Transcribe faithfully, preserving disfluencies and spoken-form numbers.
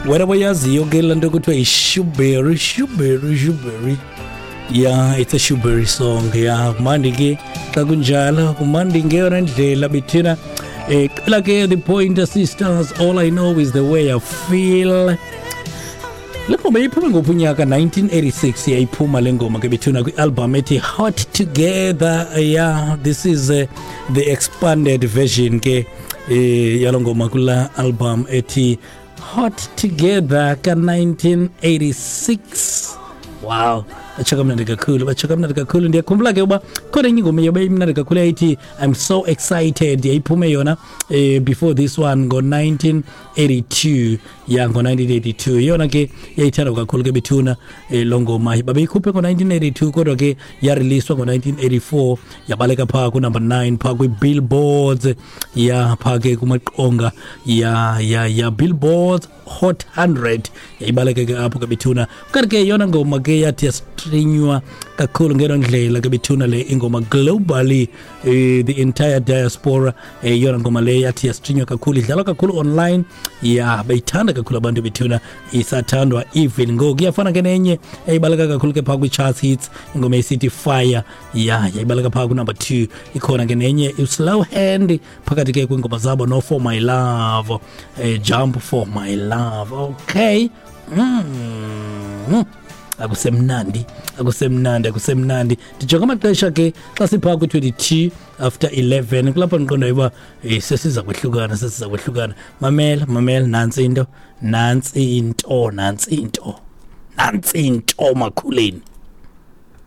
Wena boyaziyo ke laa nto kuthiwa yi-shuberry, shuberry, shuberry. Yeah, it's a shuberry song. Yeah, kumandi ke xa kunjalo, kumandi ngeyona ndlela bethina. Eh, qela ke the Pointer Sisters, "All I Know Is the Way I Feel". Le ngoma iphume ngophi unyaka? nineteen eighty-six yayiphuma le ngoma ke bethuna, kwi-album ethi Hot Together. Yeah, this is uh, the expanded version ke eh yalo ngoma kula album ethi Hot Together ka nineteen eighty-six. Wow, batsho kamnandi kakhulu, batsho kamnandi kakhulu. Ndiyakhumbula ke uba khona enye ingoma yobe imnandi kakhulu yayithi "I'm So Excited". Yayiphume yona eh, before this one ngo-nineteen eighty-two. Ya, ngo-nineteen eighty-two yona ke yayithandwa kakhulu ke bethuna. eh, loo ngoma babeyikhuphe ngo-nineteen eighty-two, kodwa ke yareleaswa ngo-nineteen eighty-four. Yabaleka phaa kunumber nine phaa kwii-billboards, ya, phaa ke kumaqonga ya ya ya Billboards Hot one hundred, yayibaleka ke apho ke bethuna. Kanti ke yona ngoma ke yathi yastreamwa kakhulu ngelo ndlela ke bethuna le ingoma globally, eh, the entire diaspora, eh, yona ngoma le yathi yastreamwa kakhulu, idlalwa kakhulu online. Ya, beyithanda kakhulu abantu bethuna, isathandwa even ngoku. Iyafana ke nenye eyibaleka kakhulu ke phaa kwi-charts hits, ingoma esithi "Fire". Ya, yayibaleka phaa kunumber two. Ikhona ke nenye "Slow Hand" phakathi ke kwiingoma zabo, no "For My Love", eh, "Jump for My Love". Okay, mm. akusemnandi, akusemnandi, akusemnandi. Ndijonga amaxesha ke xa siphaa kwi-twenty-two after eleven, kulapho ndiqondayo uba eh, sesiza kwehlukana, sesiza kwehlukana. Mamela, mamela, nantsi into, nantsi into, nantsi into, nantsi into makhuleni.